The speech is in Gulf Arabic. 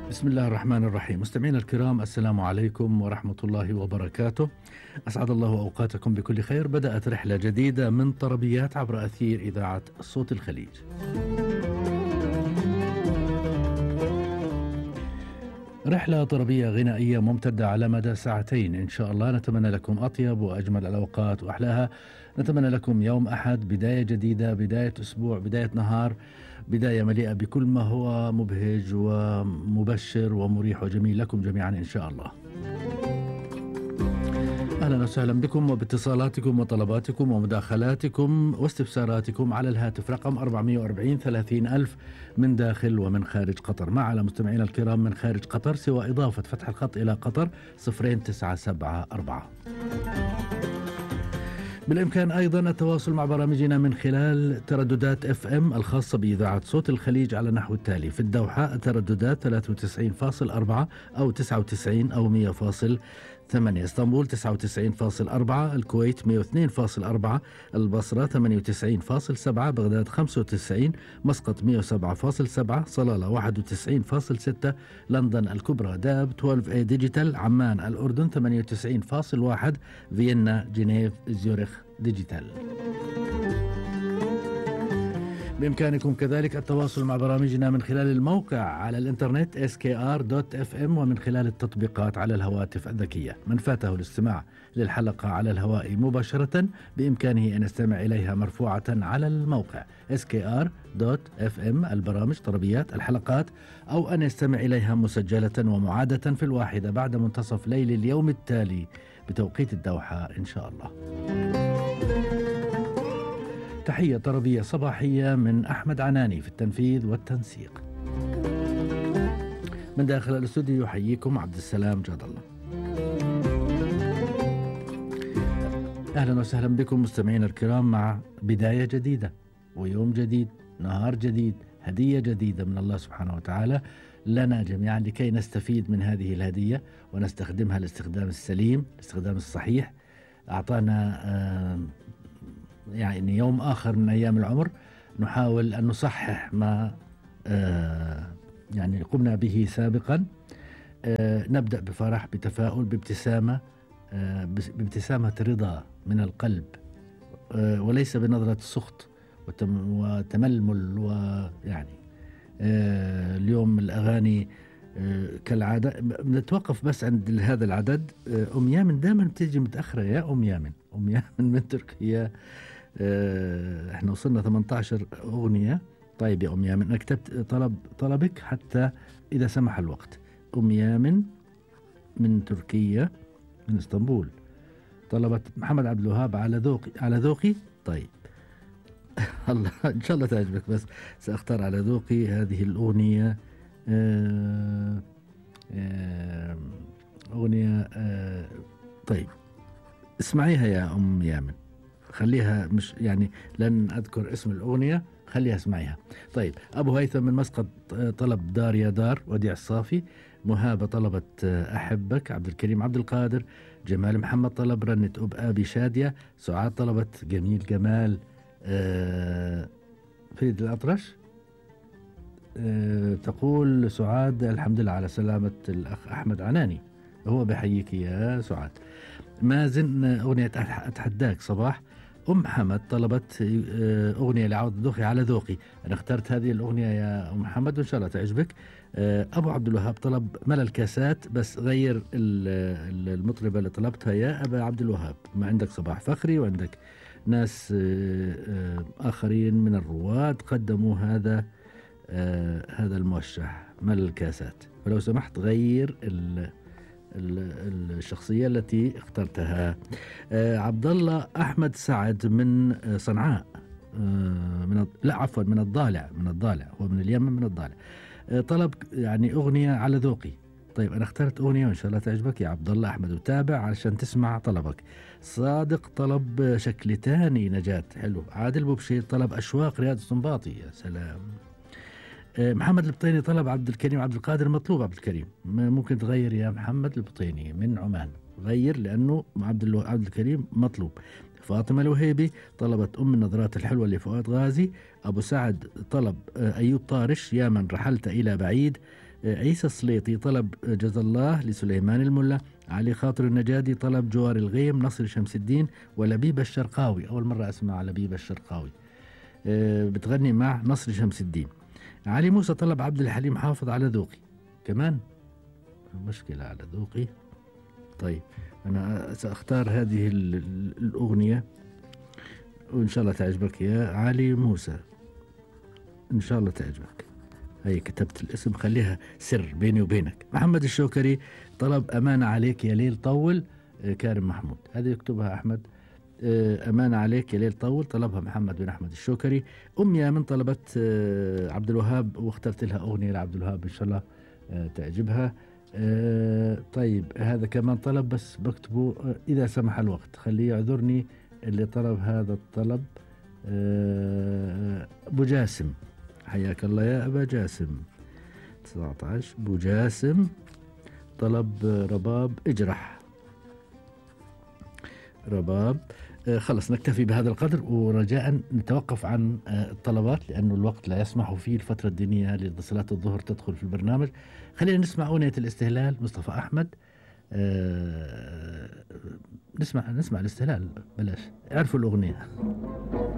بسم الله الرحمن الرحيم. مستمعينا الكرام، السلام عليكم ورحمة الله وبركاته. أسعد الله أوقاتكم بكل خير. بدأت رحلة جديدة من طربيات عبر أثير إذاعة صوت الخليج. رحلة طربية غنائية ممتدة على مدى ساعتين إن شاء الله. نتمنى لكم أطيب وأجمل الأوقات وأحلاها. نتمنى لكم يوم أحد، بداية جديدة، بداية أسبوع، بداية نهار، بداية مليئة بكل ما هو مبهج ومبشر ومريح وجميل لكم جميعا إن شاء الله. أهلا وسهلا بكم وباتصالاتكم وطلباتكم ومداخلاتكم واستفساراتكم على الهاتف رقم 440 30 ألف من داخل ومن خارج قطر. مع على مستمعينا الكرام من خارج قطر سوى إضافة فتح الخط إلى قطر 0974. بالإمكان أيضا التواصل مع برامجنا من خلال ترددات FM الخاصة بإذاعة صوت الخليج على نحو التالي: في الدوحة الترددات 93.4 أو 99 أو 100.8، اسطنبول 99.4، الكويت 102.4، البصرة 98.7، بغداد 95، مسقط 107.7، صلالة 91.6، لندن الكبرى داب 12A ديجيتال، عمان الأردن 98.1، فيينا جنيف زيورخ ديجيتال. بإمكانكم كذلك التواصل مع برامجنا من خلال الموقع على الإنترنت skr.fm ومن خلال التطبيقات على الهواتف الذكية. من فاته الاستماع للحلقة على الهواء مباشرة بإمكانه أن يستمع إليها مرفوعة على الموقع skr.fm، البرامج طربيات الحلقات، أو أن يستمع إليها مسجلة ومعادة في الواحدة بعد منتصف ليل اليوم التالي بتوقيت الدوحة إن شاء الله. تحية طربية صباحية من أحمد عناني في التنفيذ والتنسيق. من داخل الاستوديو يحييكم عبد السلام جاد الله. أهلا وسهلا بكم مستمعين الكرام مع بداية جديدة ويوم جديد، نهار جديد، هدية جديدة من الله سبحانه وتعالى لنا جميعا لكي نستفيد من هذه الهدية ونستخدمها الاستخدام السليم، الاستخدام الصحيح. أعطانا يعني يوم آخر من أيام العمر نحاول أن نصحح ما يعني قمنا به سابقا. نبدأ بفرح، بتفاؤل، بابتسامة، بابتسامة رضا من القلب، وليس بنظرة سخط وتململ. ويعني اليوم الأغاني كالعادة نتوقف بس عند هذا العدد. أم يامن دائما بتيجي متأخرة يا أم يامن. أم يامن من تركيا. احنا وصلنا 18 أغنية. طيب يا أم يامن، أنا كتبت طلبك حتى إذا سمح الوقت. أم يامن من تركيا من اسطنبول طلبت محمد عبد الوهاب على ذوقي. طيب الله إن شاء الله تعجبك، بس سأختار على ذوقي هذه الأغنية. أغنية طيب اسمعيها يا أم يامن، خليها مش يعني لن أذكر اسم الأغنية، خليها اسمعيها. طيب أبو هيثم من مسقط طلب دار يا دار وديع الصافي. مهابة طلبت أحبك. عبد الكريم عبد القادر. جمال محمد طلب رنة أبي شادية. سعاد طلبت جميل جمال. فريد الأطرش. تقول سعاد الحمد لله على سلامة الأخ أحمد عناني، هو بحييك يا سعاد. مازن أغنية أتحداك صباح. أم حمد طلبت أغنية لعوض ذوقي على ذوقي. أنا اخترت هذه الأغنية يا أم حمد وإن شاء الله تعجبك. أبو عبد الوهاب طلب ملل الكاسات، بس غير المطربة اللي طلبتها يا أبا عبد الوهاب. ما عندك صباح فخري وعندك ناس آخرين من الرواد قدموا هذا الموشح ملل الكاسات، فلو سمحت غير الشخصية التي اخترتها. عبد الله أحمد سعد من صنعاء، من الضالع، هو من اليمن من الضالع. طلب يعني أغنية على ذوقي. طيب أنا اخترت أغنية وإن شاء الله تعجبك يا عبد الله أحمد، وتابع علشان تسمع طلبك. صادق طلب شكل تاني نجاة، حلو. عادل بوبشير طلب أشواق رياض السنباطي، يا سلام. محمد البطيني طلب عبد الكريم عبد القادر. مطلوب عبد الكريم، ممكن تغير يا محمد البطيني من عمان، غير لأنه عبد الكريم مطلوب. فاطمة الوهيبي طلبت أم النظرات الحلوة لفؤاد غازي. أبو سعد طلب أيوب طارش يا من رحلت إلى بعيد. عيسى السليطي طلب جزا الله لسليمان الملا. علي خاطر النجادي طلب جوار الغيم. نصر شمس الدين ولبيب الشرقاوي، أول مرة أسمع لبيب الشرقاوي، بتغني مع نصر شمس الدين. علي موسى طلب عبد الحليم حافظ على ذوقي، كمان مشكلة على ذوقي. طيب أنا سأختار هذه الأغنية وإن شاء الله تعجبك يا علي موسى، إن شاء الله تعجبك. هي كتبت الاسم، خليها سر بيني وبينك. محمد الشوكري طلب أمانة عليك يا ليل طول. كارم محمود، هذه يكتبها أحمد. أمانة عليك يا ليل طول طلبها محمد بن أحمد الشوكري. أم يامن طلبت عبد الوهاب، واخترت لها أغنية لعبد الوهاب إن شاء الله تعجبها. طيب هذا كمان طلب بس بكتبه إذا سمح الوقت، خليه يعذرني اللي طلب هذا الطلب. أبو جاسم، حياك الله يا أبا جاسم. 19 أبو جاسم طلب رباب اجرح. رباب. خلص نكتفي بهذا القدر، ورجاء نتوقف عن الطلبات لأنه الوقت لا يسمح فيه. الفترة الدينية لصلاة الظهر تدخل في البرنامج. خلينا نسمع أغنية الاستهلال مصطفى أحمد. نسمع الاستهلال، بلاش، اعرفوا الأغنية.